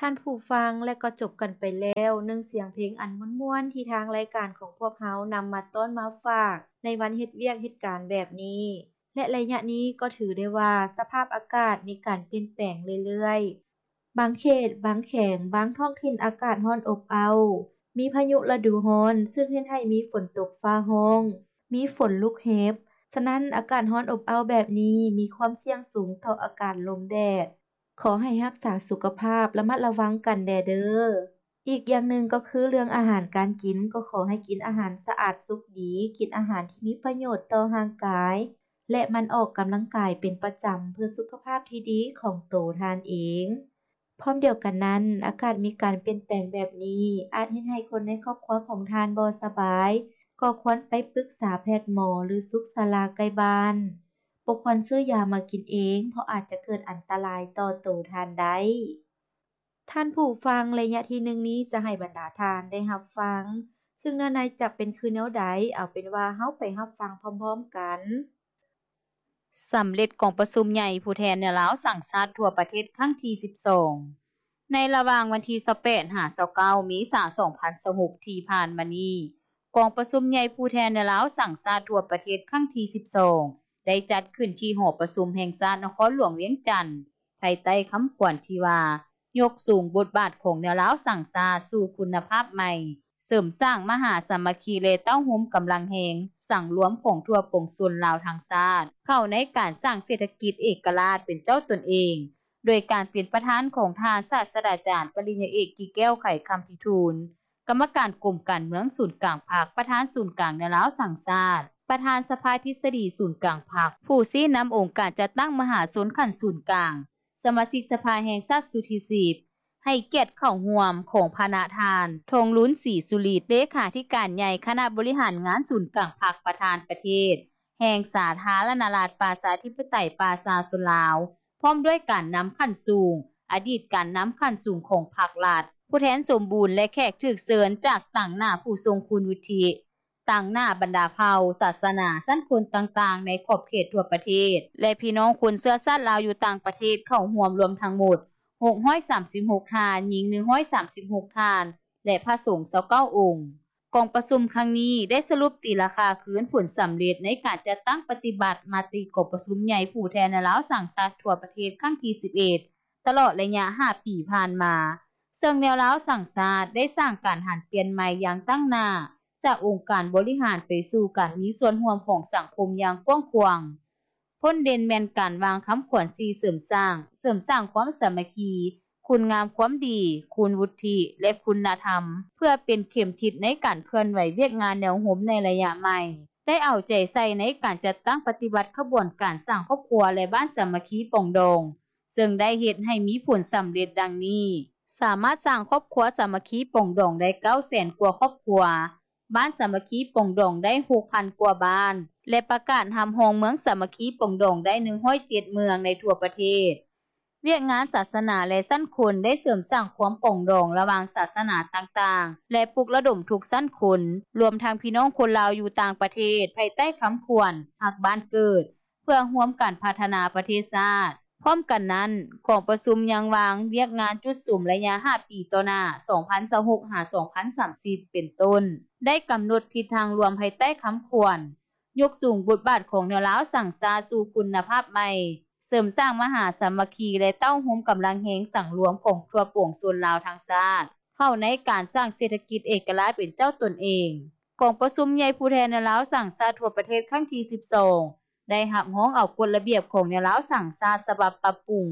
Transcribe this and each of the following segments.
ທ່ານຜູ້ຟັງ ແລະກໍຈົບກັນໄປແລ້ວ ໜຶ່ງສຽງເພງອັນມ່ວນໆ ທີ່ທາງລາຍການຂອງພວກເຮົານຳມາຕ້ອນມາຝາກ ໃນວັນເຮັດວຽກເຮັດການແບບນີ້ ແລະໄລຍະນີ້ກໍຖືໄດ້ວ່າ ສະພາບອາກາດມີການປ່ຽນແປງເລື້ອຍໆ. ບາງເຂດ, ບາງແຂວງ, ບາງທ້ອງຖິ່ນອາກາດຮ້ອນອົບເອົ້າ, ມີພາຍຸລະດູຮ້ອນ ຊຶ່ງເຮັດໃຫ້ມີຝົນຕົກຟ້າຮ້ອງ, ມີຝົນລູກເຫັບ. ສະນັ້ນ, ອາກາດຮ້ອນອົບເອົ້າແບບນີ້ ມີຄວາມສ່ຽງສູງຕໍ່ອາກາດລົມແດດ. ຂໍໃຫ້ຮັກສາສຸຂະພາບ, ລະມັດລະວັງກັນແດ່ເດີ້. ອີກຢ່າງໜຶ່ງກໍຄືເລື່ອງອາຫານການກິນ, ກໍຂໍໃຫ້ກິນອາຫານສະອາດສຸກດີ, ກິນອາຫານທີ່ມີປະໂຫຍດຕໍ່ຮ່າງກາຍ ແລະ ໝັ່ນອອກກຳລັງກາຍເປັນປະຈຳ ເພື່ອສຸຂະພາບທີ່ດີຂອງໂຕທ່ານເອງ. ພ້ອມດຽວກັນນັ້ນ, ອາກາດມີການປ່ຽນແປງແບບນີ້ ອາດເຮັດໃຫ້ຄົນໃນຄອບຄົວຂອງທ່ານບໍ່ສະບາຍ, ກໍຄວນໄປປຶກສາແພດໝໍ ຫຼື ສຸກສາລາໃກ້ບ້ານ. ບໍ່ຄວນຊື້ຢາມາກິນເອງ, ເພາະອາດຈະເກີດອັນຕະລາຍຕໍ່ໂຕທ່ານໄດ້. ທ່ານຜູ້ຟັງ, ໄລຍະທີໜຶ່ງນີ້ຈະໃຫ້ບັນດາທ່ານໄດ້ຮັບຟັງ, ຊຶ່ງເນື້ອໃນຈະເປັນຄືແນວໃດ, ເອົາເປັນວ່າເຮົາໄປຮັບຟັງພ້ອມໆກັນ. ສຳເລັດກອງປະຊຸມໃຫຍ່ຜູ້ແທນແນວລາວສ້າງຊາດທົ່ວປະເທດຄັ້ງທີສິບສອງ. ໃນລະຫວ່າງວັນທີຊາວແປດ ຫາ ຊາວເກົ້າ ເມສາ ສອງພັນຊາວຫົກ ທີ່ຜ່ານມານີ້, ກອງປະຊຸມໃຫຍ່ຜູ້ແທນແນວລາວສ້າງຊາດທົ່ວປະເທດຄັ້ງທີສິບສອງ ໄດ້ຈັດຂຶ້ນທີ່ຫໍປະຊຸມແຫ່ງຊາດນະຄອນຫຼວງວຽງຈັນ, ພາຍໃຕ້ຄຳຂວັນທີ່ວ່າ ຍົກສູງບົດບາດຂອງແນວລາວສ້າງຊາດສູ່ຄຸນນະພາບໃໝ່, ເສີມສ້າງມະຫາສາມັກຄີ ແລະ ເຕົ້າໂຮມກຳລັງແຮງສັງລວມຂອງທົ່ວປວງຊົນລາວທັງຊາດ ເຂົ້າໃນການສ້າງເສດຖະກິດເອກະລາດເປັນເຈົ້າຕົນເອງ, ໂດຍການເປັນປະທານຂອງທ່ານສາດສະດາຈານປະລິນຍາເອກ ກິແກ້ວ ໄຂຄຳພິທູນ, ກຳມະການກົມການເມືອງສູນກາງພັກ, ປະທານສູນກາງແນວລາວສ້າງຊາດ, ປະທານສະພາທິດສະດີສູນກາງພັກ, ຜູ້ຊີ້ນຳອົງການຈັດຕັ້ງມະຫາຊົນຂັ້ນສູນກາງ, ສະມາຊິກສະພາແຫ່ງຊາດຊຸດທີສິບ, ໃຫ້ກຽດເຂົ້າຮ່ວມຂອງພະນະທ່ານ ທອງລຸນ ສີສຸລິດ ເລຂາທິການໃຫຍ່ຄະນະບໍລິຫານງານສູນກາງພັກ, ປະທານປະເທດແຫ່ງສາທາລະນະລັດປະຊາທິປະໄຕປະຊາຊົນລາວ, ພ້ອມດ້ວຍການນຳຂັ້ນສູງ, ອະດີດການນຳຂັ້ນສູງຂອງພັກລັດ, ຜູ້ແທນສົມບູນ ແລະ ແຂກຖືກເຊີນຈາກຕາງໜ້າຜູ້ຊົງຄຸນວຸດທິ, ຕາງໜ້າບັນດາເຜົ່າ, ສາສະໜາ, ຊັ້ນຄົນຕ່າງໆ ໃນຂອບເຂດທົ່ວປະເທດ ແລະ ພີ່ນ້ອງຄົນເຊື້ອຊາດລາວຢູ່ຕ່າງປະເທດເຂົ້າຮ່ວມລວມທັງໝົດຫົກຮ້ອຍສາມສິບຫົກທ່ານ, ຍິງໜຶ່ງຮ້ອຍສາມສິບຫົກທ່ານ ແລະ ພະສົງຊາວເກົ້າອົງ. ກອງປະຊຸມຄັ້ງນີ້ໄດ້ສະຫຼຸບຕີລາຄາຄືນຜົນສຳເລັດໃນການຈັດຕັ້ງປະຕິບັດມະຕິກອງປະຊຸມໃຫຍ່ຜູ້ແທນແນວລາວສ້າງຊາດທົ່ວປະເທດຄັ້ງທີສິບເອັດ ຕະຫຼອດໄລຍະຫ້າປີຜ່ານມາ, ເຊິ່ງແນວລາວສ້າງຊາດໄດ້ສ້າງການຫັນປ່ຽນໃໝ່ຢ່າງຕັ້ງໜ້າ ຈາກອົງການບໍລິຫານໄປສູ່ການມີສ່ວນຮ່ວມຂອງສັງຄົມຢ່າງກວ້າງຂວາງ. ພົ້ນເດັ່ນແມ່ນການວາງຄຳຂວັນສີ່ເສີມສ້າງ, ເສີມສ້າງຄວາມສາມັກຄີ, ຄຸນງາມຄວາມດີ, ຄຸນວຸດທິ ແລະ ຄຸນນະທຳ, ເພື່ອເປັນເຂັມທິດໃນການເຄື່ອນໄຫວວຽກງານແນວໂຮມໃນໄລຍະໃໝ່, ໄດ້ເອົາໃຈໃສ່ໃນການຈັດຕັ້ງປະຕິບັດຂະບວນການສ້າງຄອບຄົວ ແລະ ບ້ານສາມັກຄີປອງດອງ, ເຊິ່ງໄດ້ເຮັດໃຫ້ມີຜົນສຳເລັດດັ່ງນີ້: ສາມາດສ້າງຄອບຄົວສາມັກຄີປອງດອງໄດ້ເກົ້າແສນກວ່າຄອບຄົວ, ບ້ານສາມັກຄີປອງດອງໄດ້ຫົກພັນກວ່າບ້ານ ແລະ ປະກາດຮັບຮອງເມືອງສາມັກຄີປອງດອງໄດ້ໜຶ່ງຮ້ອຍເຈັດເມືອງໃນທົ່ວປະເທດ. ວຽກງານສາສະໜາ ແລະ ຊັ້ນຄົນໄດ້ເສີມສ້າງຄວາມປອງດອງລະຫວ່າງສາສະໜາຕ່າງໆ ແລະ ປຸກລະດົມທຸກຊັ້ນຄົນ, ລວມທັງພີ່ນ້ອງຄົນລາວຢູ່ຕ່າງປະເທດ, ພາຍໃຕ້ຄຳຂວັນ ຮັກບ້ານເກີດ, ເພື່ອຮ່ວມກັນພັດທະນາປະເທດຊາດ. ພ້ອມກັນນັ້ນ, ກອງປະຊຸມຍັງວາງວຽກງານຈຸດສຸມໄລຍະຫ້າປີຕໍ່ໜ້າ ສອງພັນຊາວຫົກ ຫາ ສອງພັນສາມສິບ ເປັນຕົ້ນ, ໄດ້ກຳນົດທິດທາງລວມພາຍໃຕ້ຄຳຂວັນ ຍົກສູງບົດບາດຂອງແນວລາວສ້າງຊາດສູ່ຄຸນນະພາບໃໝ່, ເສີມສ້າງມະຫາສາມັກຄີ ແລະ ເຕົ້າໂຮມກຳລັງແຮງສັງລວມຂອງທົ່ວປວງຊົນລາວທັງຊາດ ເຂົ້າໃນການສ້າງເສດຖະກິດເອກະລາດເປັນເຈົ້າຕົນເອງ. ກອງປະຊຸມໃຫຍ່ຜູ້ແທນແນວລາວສ້າງຊາດທົ່ວປະເທດຄັ້ງທີສິບສອງ ໄດ້ຮັບຮອງເອົາກົດລະບຽບຂອງແນວລາວສ້າງຊາດສະບັບປັບປຸງ,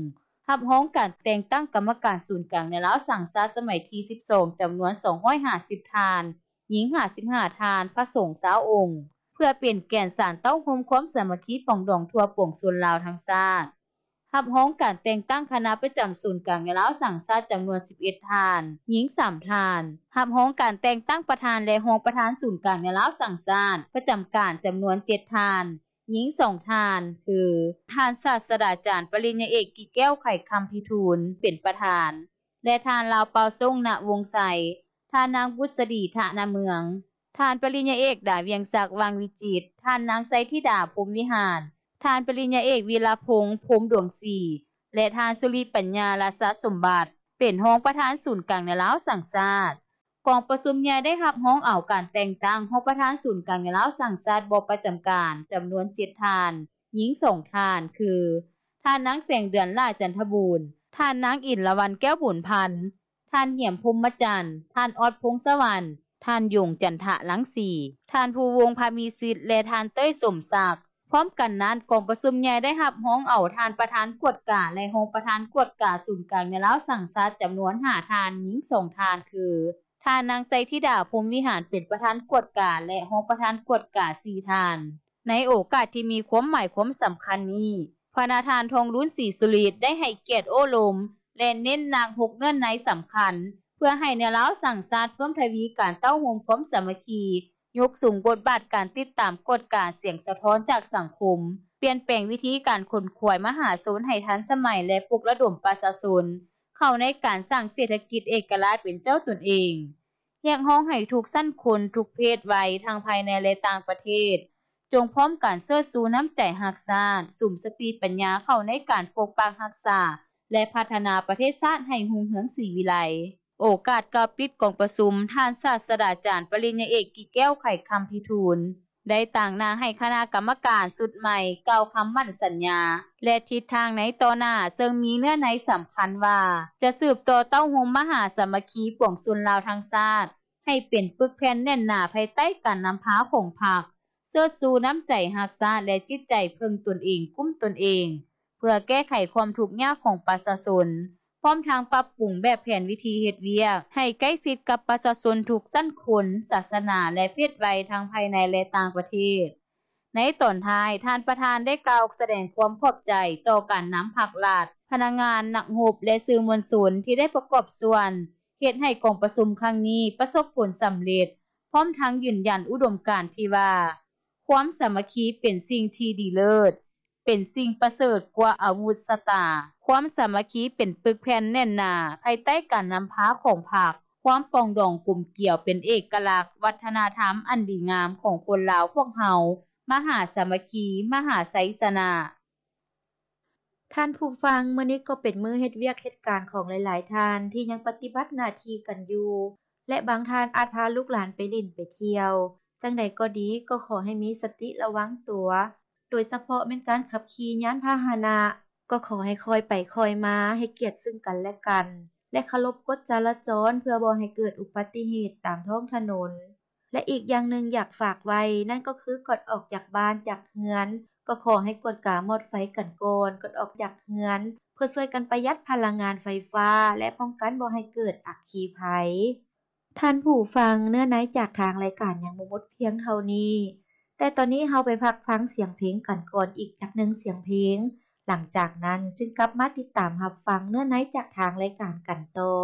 ຮັບຮອງການແຕ່ງຕັ້ງກຳມະການສູນກາງແນວລາວສ້າງຊາດສະໄໝທີສິບສອງ ຈຳນວນສອງຮ້ອຍຫ້າສິບທ່ານ, ຍິງຫ້າສິບຫ້າທ່ານ, ພະສົງຊາວອົງ, ເພື່ອເປັນແກ່ນສານເຕົ້າໂຮມຄວາມສາມັກຄີປອງດອງທົ່ວປວງຊົນລາວທັງຊາດ. ຮັບຮອງການແຕ່ງຕັ້ງຄະນະປະຈຳສູນກາງແນວລາວສ້າງຊາດຈຳນວນສິບເອັດທ່ານ, ຍິງສາມທ່ານ, ຮັບຮອງການແຕ່ງຕັ້ງປະທານ ແລະ ຮອງປະທານສູນກາງແນວລາວສ້າງຊາດປະຈຳການຈຳນວນເຈັດທ່ານ, ຍິງສອງທ່ານ ຄື ທ່ານສາດສະດາຈານປະລິນຍາເອກ ກິແກ້ວ ໄຂຄຳພິທູນ ເປັນປະທານ ແລະ ທ່ານ ລາວເປົ່າສົງ ນະວົງໄຊ, ທ່ານນາງ ບຸດສະດີ ທະນະເມືອງ, ທ່ານປະລິນຍາເອກ ດາວຽງສັກ ວັງວິຈິດ, ທ່ານນາງ ໄຊທິດາ ພົມວິຫານ, ທ່ານປະລິນຍາເອກ ວິລະພົງ ພົມດວງສີ ແລະ ທ່ານ ສຸລິປັນຍາ ລາຊະສົມບັດ. ປັນຮອງປະທານສູນກາງແນວລາວສ້າງຊາດ. ກອງປະຊຸມໃຫຍ່ໄດ້ຮັບຮອງເອົາການແຕ່ງຕັ້ງຮອງປະທານສູນກາງແນວລາວສ້າງຊາດບໍ່ປະຈຳການ ຈຳນວນເຈັດທ່ານ, ຍິງສອງທ່ານ ຄື ທ່ານນາງ ແສງເດືອນ ຫຼ້າຈັນທະບູນ, ທ່ານນາງ ອິນລະວັນ ແກ້ວບຸນພັນ, ທ່ານ ຫຽມ ພົມມະຈັນ, ທ່ານ ອອດ ພົງສະຫວັນ, ທ່ານ ຢົງ ຈັນທະລັງສີ, ທ່ານ ພູວົງ ພາມີສິດ ແລະ ທ່ານ ເຕີຍ ສົມສັກ. ພ້ອມກັນນັ້ນ, ກອງປະຊຸມໃຫຍ່ໄດ້ຮັບຮອງເອົາທ່ານປະທານກວດກາ ແລະ ຮອງປະທານກວດກາສູນກາງແນວລາວສ້າງຊາດ ຈຳນວນຫ້າທ່ານ, ຍິງສອງທ່ານ ຄື ທ່ານນາງ ໄຊທິດາ ພົມວິຫານ ເປັນປະທານກວດກາ ແລະ ຮອງປະທານກວດກາສີ່ທ່ານ. ໃນໂອກາດທີ່ມີຄວາມໝາຍຄວາມສຳຄັນນີ້, ພະນະທ່ານ ທອງລຸນ ສີສຸລິດ ໄດ້ໃຫ້ກຽດໂອ້ລົມ ແລະ ເນັ້ນໜັກຫົກເນື້ອໃນສຳຄັນ ເພື່ອໃຫ້ແນວລາວສ້າງຊາດເພີ່ມທະວີການເຕົ້າໂຮມຄວາມສາມັກຄີ, ຍົກສູງບົດບາດການຕິດຕາມກວດກາສຽງສະທ້ອນຈາກສັງຄົມ, ປ່ຽນແປງວິທີການຂົນຂວາຍມະຫາຊົນໃຫ້ທັນສະໄໝ ແລະ ປຸກລະດົມປະຊາຊົນເຂົ້າໃນການສ້າງເສດຖະກິດເອກະລາດເປັນເຈົ້າຕົນເອງ. ຮຽກຮ້ອງໃຫ້ທຸກຊັ້ນຄົນ, ທຸກເພດໄວ ທັງພາຍໃນ ແລະ ຕ່າງປະເທດ ຈົ່ງພ້ອມກັນເຊີດຊູນ້ຳໃຈຮັກຊາດ, ສຸມສະຕິປັນຍາເຂົ້າໃນການປົກປັກຮັກສາ ແລະ ພັດທະນາປະເທດຊາດໃຫ້ຮຸ່ງເຮືອງສີວິໄລ. ໂອກາດກ່າວປິດກອງປະຊຸມ, ທ່ານສາດສະດາຈານ ປະລິນຍາເອກ ກິແກ້ວ ໄຂຄຳພິທູນ ໄດ້ຕາງໜ້າໃຫ້ຄະນະກຳມະການຊຸດໃໝ່ກ່າວຄຳໝັ້ນສັນຍາ ແລະ ທິດທາງໃນຕໍ່ໜ້າ, ເຊິ່ງມີເນື້ອໃນສຳຄັນວ່າ ຈະສືບຕໍ່ເຕົ້າໂຮມມະຫາສາມັກຄີປວງຊົນລາວທັງຊາດ ໃຫ້ເປັນປຶກແຜ່ນແໜ້ນໜາພາຍໃຕ້ການນຳພາຂອງພັກ, ເຊີດຊູນ້ຳໃຈຮັກຊາດ ແລະ ຈິດໃຈເພິ່ງຕົນເອງ, ກຸ້ມຕົນເອງ, ເພື່ອແກ້ໄຂຄວາມທຸກຍາກຂອງປະຊາຊົນ, ພ້ອມທັງປັບປຸງແບບແຜນວິທີເຮັດວຽກໃຫ້ໃກ້ຊິດກັບປະຊາຊົນທຸກຊັ້ນຄົນ, ສາສະໜາ ແລະ ເພດໄວ ທັງພາຍໃນ ແລະ ຕ່າງປະເທດ. ໃນຕອນທ້າຍ, ທ່ານປະທານໄດ້ກ່າວສະແດງຄວາມຂອບໃຈຕໍ່ການນຳພັກລັດ, ພະນັກງານ, ນັກຮົບ ແລະ ສື່ມວນຊົນທີ່ໄດ້ປະກອບສ່ວນ ເຮັດໃຫ້ກອງປະຊຸມຄັ້ງນີ້ປະສົບຜົນສຳເລັດ, ພ້ອມທັງຢືນຢັນອຸດົມການທີ່ວ່າ ຄວາມສາມັກຄີເປັນສິ່ງທີ່ດີເລີດ, ເປັນສິ່ງປະເສີດກວ່າອາວຸດຊະຕາ. ຄວາມສາມັກຄີເປັນປຶກແຜ່ນແໜ້ນໜາພາຍໃຕ້ການນຳພາຂອງພັກ. ຄວາມປອງດອງກົມກຽວເປັນເອກະລັກວັດທະນະທຳອັນດີງາມຂອງຄົນລາວພວກເຮົາ. ມະຫາສາມັກຄີ, ມະຫາໄຊຊະນະ. ທ່ານຜູ້ຟັງ, ມື້ນີ້ກໍເປັນມື້ເຮັດວຽກເຮັດການຂອງຫຼາຍໆທ່ານທີ່ຍັງປະຕິບັດໜ້າທີ່ກັນຢູ່ ແລະ ບາງທ່ານອາດພາລູກຫຼານໄປຫຼິ້ນໄປທ່ຽວ. ຈັ່ງໃດກໍດີ, ກໍຂໍໃຫ້ມີສະຕິລະວັງຕົວ, ໂດຍສະເພາະແມ່ນການຂັບຂີ່ຍານພາຫະນະ, ກໍຂໍໃຫ້ຄ່ອຍໄປຄ່ອຍມາ, ໃຫ້ກຽດເຊິ່ງກັນແລະກັນ ແລະ ເຄົາລົບກົດຈະລາຈອນ ເພື່ອບໍ່ໃຫ້ເກີດອຸບັດຕິເຫດຕາມທ້ອງຖະໜົນ. ແລະ ອີກຢ່າງໜຶ່ງຢາກຝາກໄວ້ ນັ້ນກໍຄືກ່ອນອອກຈາກບ້ານຈາກເຮືອນ ກໍຂໍໃຫ້ກວດກາມອດໄຟກັນກ່ອນ ກ່ອນອອກຈາກເຮືອນ ເພື່ອຊ່ວຍກັນປະຢັດພະລັງງານໄຟຟ້າ ແລະ ປ້ອງກັນບໍ່ໃຫ້ເກີດອັກຄີໄພ. ທ່ານຜູ້ຟັງ, ເນື້ອໃນຈາກທາງລາຍການຍັງບໍ່ໝົດພຽງເທົ່ານີ້, ແຕ່ຕອນນີ້ເຮົາໄປພັກຟັງສຽງເພງກັນກ່ອນອີກຈັກໜຶ່ງສຽງເພງ, ຫຼັງຈາກນັ້ນຈຶ່ງກັບມາຕິດຕາມຮັບຟັງເນື້ອໃນຈາກທາງລາຍການກັນຕໍ່.